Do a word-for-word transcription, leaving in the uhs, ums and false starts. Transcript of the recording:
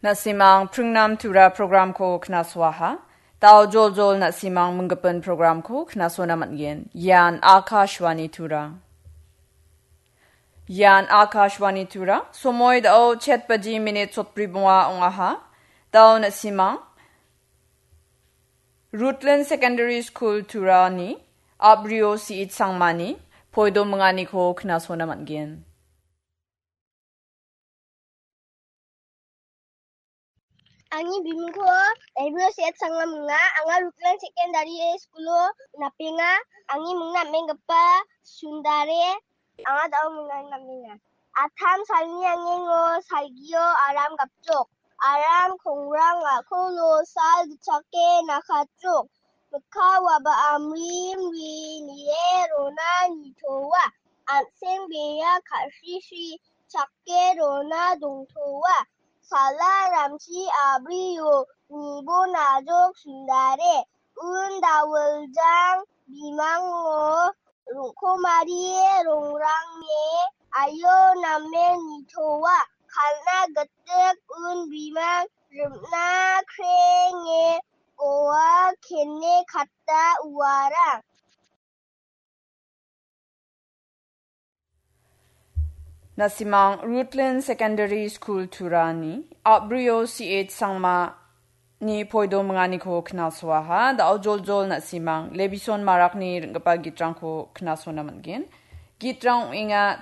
Na·simang pringnam Tura programko knasoaha. Dao joljol na·simang minggipin programko knasona man·gen. Ian Akashvani Tura. Ian Akashvani Tura. Somoi dao chet baji minit sotbri bonga ong·aha. Dao na·simang Rutland Secondary School Turani Abrio C H Sangmani poido minganiko knasona man·gen. Angni bimingko Abrio C H Sangma minga, anga Rutland Secondary School-o napenga, angni mingna am·enggipa Sundare, anga dao mingan napenga. Atam salni angengo salgio aram gapjok, aram kongrang a·kolo sal gitchake nakatjok, mikka waba amrim ri nie rona nitoa, an·seng bea ka·srisi chake rona dongtoa. Sala ramchi abrio nibo najok sundare. Un dawiljang bimango rongkomari rongrangni ayo namen nitoa. Kalna gitik un bimang rimna krenge goa kene katta uarang. Na·simang Rutland Secondary School Turani Abrio C H Sangmani poido minganiko knasoaha. Dao joljol na·simang Levison Marakni ring·gipa gitrangko knasona man·gen. Gitrang ong·enga